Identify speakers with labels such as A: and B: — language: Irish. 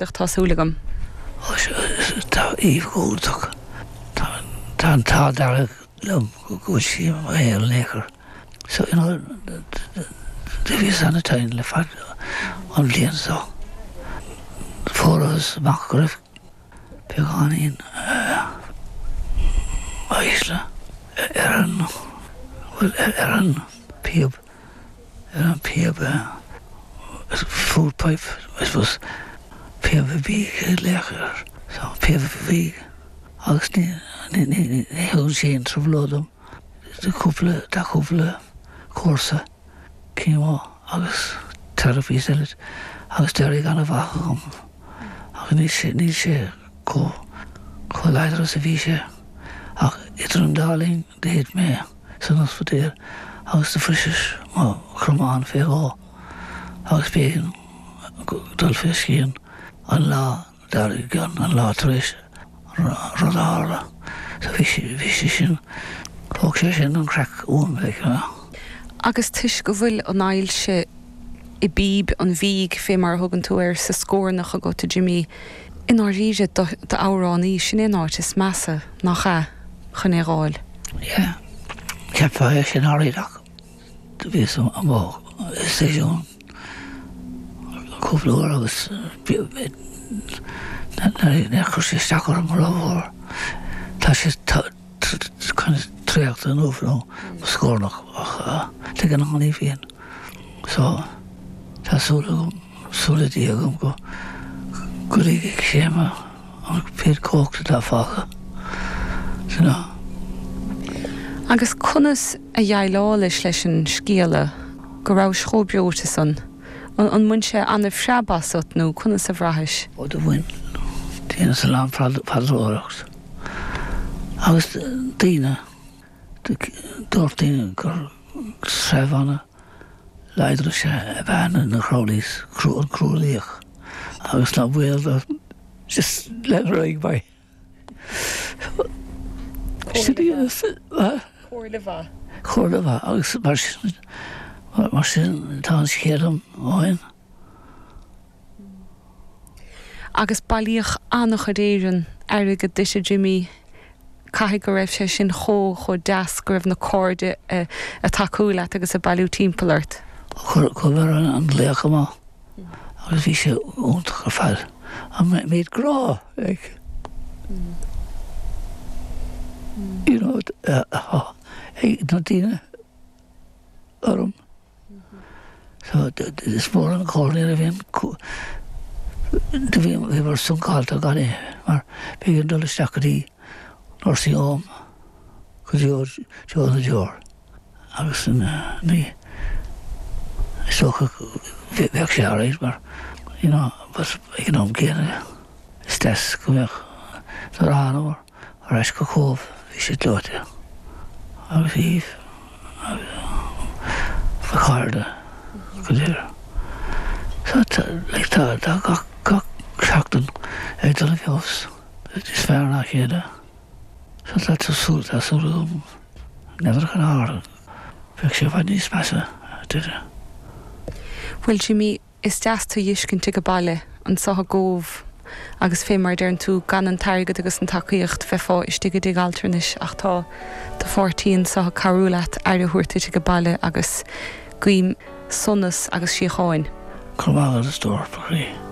A: Tá súil agam.
B: Ó tá Eve go hiontach. Tá an t-ádh dearg liom go bhfuil sí i mo shaol in aon chor. So, you know, do bhíos ana-tinn le fad an bhliain so. Fuarthas amach go raibh beagáinín ailse ar an, bhuel, ar an píob. ar an píob food pipe, I suppose, píob bídh ag glaoch air, so píob bídh agus ní ní thugann sé aon trioblóid dom, tá cúpla tá cúpla cúrsa chemo agus therapies eile agus d'éirigh ana-mhaith agam ach níl sé níl sé chomh chomh láidir is a bhí sé ach idir an dá linn thit mé. san ospidéal agus do bhriseas mo chromán fé dhó agus b'éigean dul fé scian an lá dár gcionn, an lá tar éis an rud a tharla. So bhí sé, bhí sé sin, thóg sé sin an craic uaim, like, you know.
A: Agus toisc go bhfuil an ailse i bpíb an bhídh, fé mar a thugann tú air, sa scornach agat, a Jimí, i ndáiríre, d'amhránaí, sin é an áit is measa, nach ea, chun é dh'fháil?
B: Yeah. Cheapfá é sin alright ach do bhíos amuigh i stáisiún cúpla uair agus níor chuir sé isteach orm rómhór. Tá sé kind of traochta inniu nó mo scornach ach de ghnáth ní bhíonn. So tá súil agam, súil le Dia agam go go ligfidh sé mo an méid cumhacht atá fágtha, you know.
A: Agus conas a dhéileálais leis an scéala go rabhais chomh breoite san? An mbain sé ana-phreab asat nó conas a bhraithis?
B: Ó do bhain. Dheineas a lán paidreoireacht agus daoine, dúirt daoine gur treibh ana láidir is ea ab ea na Crowleys, an Cruadhlaoich agus ná baol dó just lean ar aghaidh mé.
A: Comhairle mhaith.
B: Comhairle mhaith agus mar sin, mar sin tá an scéal agam ó shin.
A: Agus bailíodh an-chuid Éireann airgead duit a Jimí. Caithfidh go raibh sé sin chomh, chomh deas go raibh na cairde ag tacú leat agus ag bailiú timpeall ort.
B: Chuir an glaoch amach agus bhí sé iontach ar fad. An méid grá like you know atá ag na daoine orm. So is mór an chomhairle nuair a bhíonn do bhí bhíomar suncálta gan é mar b'éigean dul isteach go dtí nursing home go dtí Joe na Deor agus ní is dócha bheadh sé alright mar you know but ag an am céanna is deas go mbeadh nuair a thánamar Ar ais go Cóbh bhí sé gleoite agus Eve agus mo chairde go léir. So tá like tá tá gach gach seachtain ag dul i bhfeabhas. Is fearr ná a chéile. So tá tá súil tá súil agam n'fheadar cad a tharla. Bheadh sé i bhfad níos measa a deireadh.
A: Bhuel Jimí, Is deas tú dh'fheiscint age baile anso i gCóbh agus fé mar a deireann tú, gan an t-airgead agus an tacaíocht bheifeá istigh i dtigh altranais ach tá do pháirtí anso ag cabhrú leat aire a thabhairt duit age baile agus guím sonas agus síocháin.
B: Go raibh maith agat a stór, mo chroí.